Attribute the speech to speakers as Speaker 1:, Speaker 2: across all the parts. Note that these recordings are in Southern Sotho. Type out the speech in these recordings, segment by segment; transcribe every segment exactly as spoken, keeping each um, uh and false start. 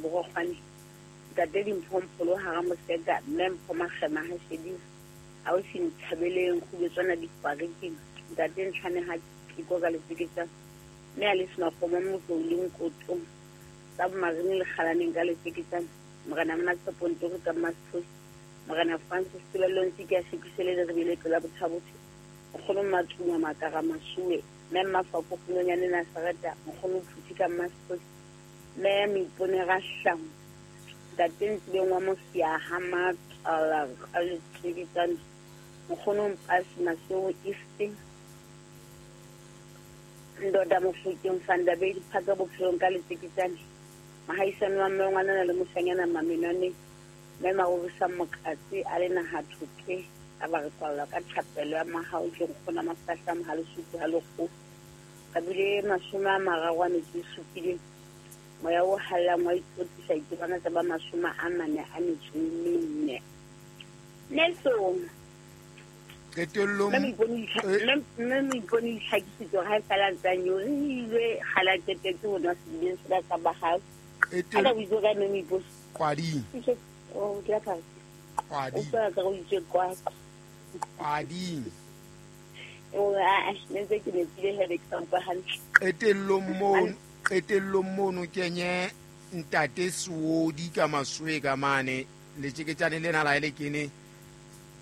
Speaker 1: Borokgwane, Ntate Dimpho Mpholo hara Moseka, Mme Mpho Makgema ha Shedi, ausi Nthabeleng Kgubetswana Dikgwariking, Ntate Ntlhane ha Tiko ka Letjeketjane, mme Alice Makgomo Motlou le Nkoto, tsa Bomarine le Kgalaneng ka Letjeketjane, Morena Mmatshepo Ntori ka Mmasephosi, Morena Francis Tebello Ntsiki a Shekisele le Rebele pela Bothabotho, Nkgono Mmatuma Makara Masuwe, Mme Mmafako Kgolonyane Nasareta, Nkgono Phuthi ka Mmasephosi, Mme Moipone Rahlango, Ntate Ntsibeng wa Mosiaha Matlala ka Letjeketjane, Nkgono Mpasi Maseo East, Ndoda Mofokeng Fandabedi Phaka Bophelong ka Letjeketjane, Mahaisane wa mme ngwanana le moshanyana Mamenwane, mme Marorisa Mokatsi a le naha thote, a ba re kwalla ka thapelo ya mahao ke nkgona mafahla mohalesutu ha lekgo. Ka bile mashome a mararo a metso e supileng, moya o hallang wa itlotlisa ditebana tsa ba mashome a mane a metso e mene. Nelson,
Speaker 2: Qetellong
Speaker 1: mme Moipone itlhakisitse hore ha e sala ntse a nyorilwe kgale a qetetse ho nwa sedibeng sena sa ba hao. A ka o itse kae mme Moipone?
Speaker 2: Qwading.
Speaker 1: Oh, ke la phala.
Speaker 2: Qwading.
Speaker 1: O utlwa ka o itse kwa.
Speaker 2: Qwading.
Speaker 1: O a ne ntse ke nepile he ke sa utlwa hantle.
Speaker 2: Qetellong mono, qetellong mono kenye Ntate Seodi ka Masoe ka mane, letjeketjane lena la ele kene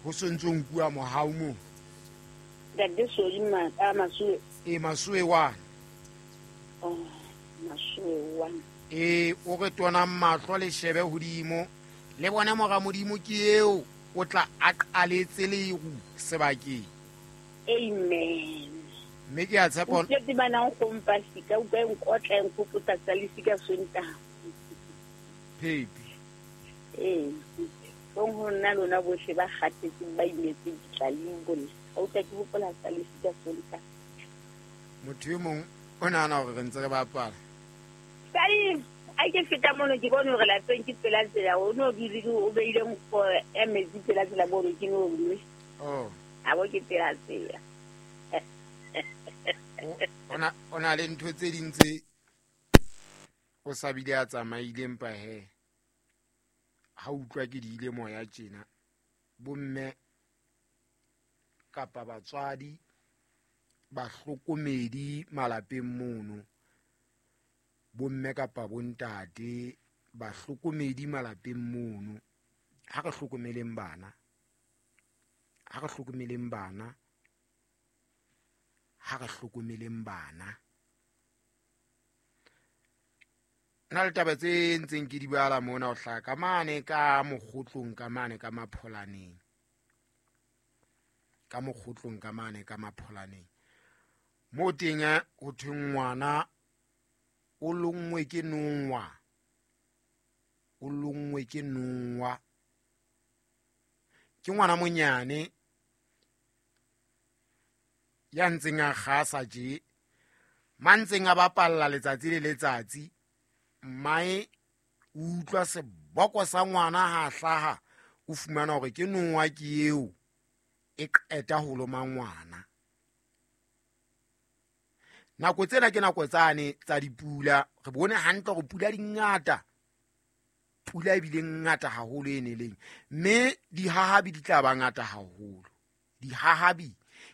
Speaker 2: ho sontso nkuwa mohau mo.
Speaker 1: Ntate Seodi ma ka Masoe.
Speaker 2: E Masoe wa.
Speaker 1: Oh, Masoe wa.
Speaker 2: E o re tona mahlo le shebe hodimo. Le bone mora Modimo ke eo o tla a qaletse leru sebakeng.
Speaker 1: Amen.
Speaker 2: Mme ke a tshepa
Speaker 1: O tletse bana o kompa sika o ka nkotla nkgopotsa tsa lesika Sontaha.
Speaker 2: Phepi.
Speaker 1: Ee. Bong ho nna lona bohle ba kgathetseng ba imetseng ditlaleng bolle. Ha o tla ke hopola tsa lesika Sontaha.
Speaker 2: Motho e mong o nahana hore re ntse re bapala.
Speaker 1: Sai, a ke feta mono ke bone hore lapeng ke pela tsela o no dule o beile nkgo ya metsi pela tsela bo ke no nwe.
Speaker 2: Oh.
Speaker 1: A bo ke pela tsela.
Speaker 2: Ona ona le ntho tse ding tse o sa bile a tsamaileng pa he. Ha utlwa ke di ile moya tjena. Bomme kapa batswadi bahlokomedi malapeng mono. Bomme kapa bontate bahlokomedi malapeng mono. Ha re hlokomeleng bana. Ha re hlokomeleng bana. Ha re hlokomeleng bana. Nna le taba tse ntseng ke di bala mona ho hlaka ka mane ka mokgotlong ka mane ka mapholaneng. Ka mokgotlong ka mane ka mapholaneng. Mo teng ho thwe ngwana o lonngwe ke nongwa. O lonngwe ke nongwa. Ke ngwana monyane ya ntseng a kgasa tje, mantseng a bapalla letsatsi le letsatsi. Mmae o utlwa seboko sa ngwana ha hlaha, o fumana hore ke nongwa ke eo e qeta ho loma ngwana. Nako tsena ke nako tsane tsa dipula, re bone hantle hore pula di ngata. Pula e bile ngata haholo e neleng, mme dihahabi di tla ba ngata haholo. Dihahabi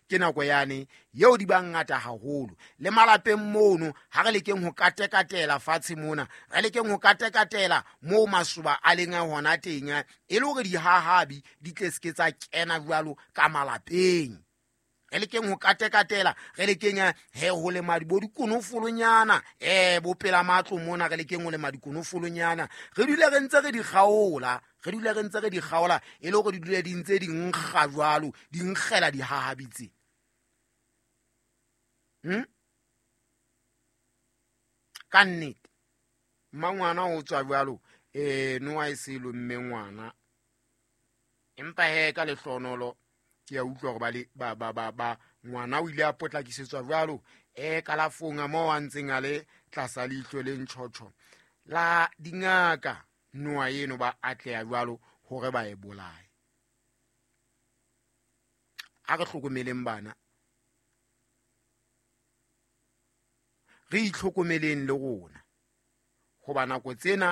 Speaker 2: ke nako yane yeo di ba ngata haholo. Le malapeng mono ha re lekeng ho katekatela fatshe mona, re lekeng ho katekatela moo masoba a leng hona teng, e le hore dihahabi di tle se ke tsa kena jwalo ka malapeng. Re lekeng ho katekatela, re lekeng he ho lema bo dikonofolonyana, eh bo pela matlo mona, re lekeng ho lema dikonofolonyana. Re dule re ntse re di kgaola, re dule re ntse re di kgaola e le hore di dule di ntse di nkga jwalo, di nkgela dihahabi tse. Hmm? Ka nnete mmangwana o tswa jwalo, eh noa e se lomme ngwana. Empa he ka lehlonolo ke a utlwa hore ba le ba ba ba ba ngwana o ile a potlakisetswa jwalo eh kalafong a moo a ntseng a le tlasa leihlo le ntjhotjho la dingaka noa eno ba atleha jwalo hore ba e bolaye. A re hlokomeleng bana, re itlhokomeleng le rona, hoba nako tsena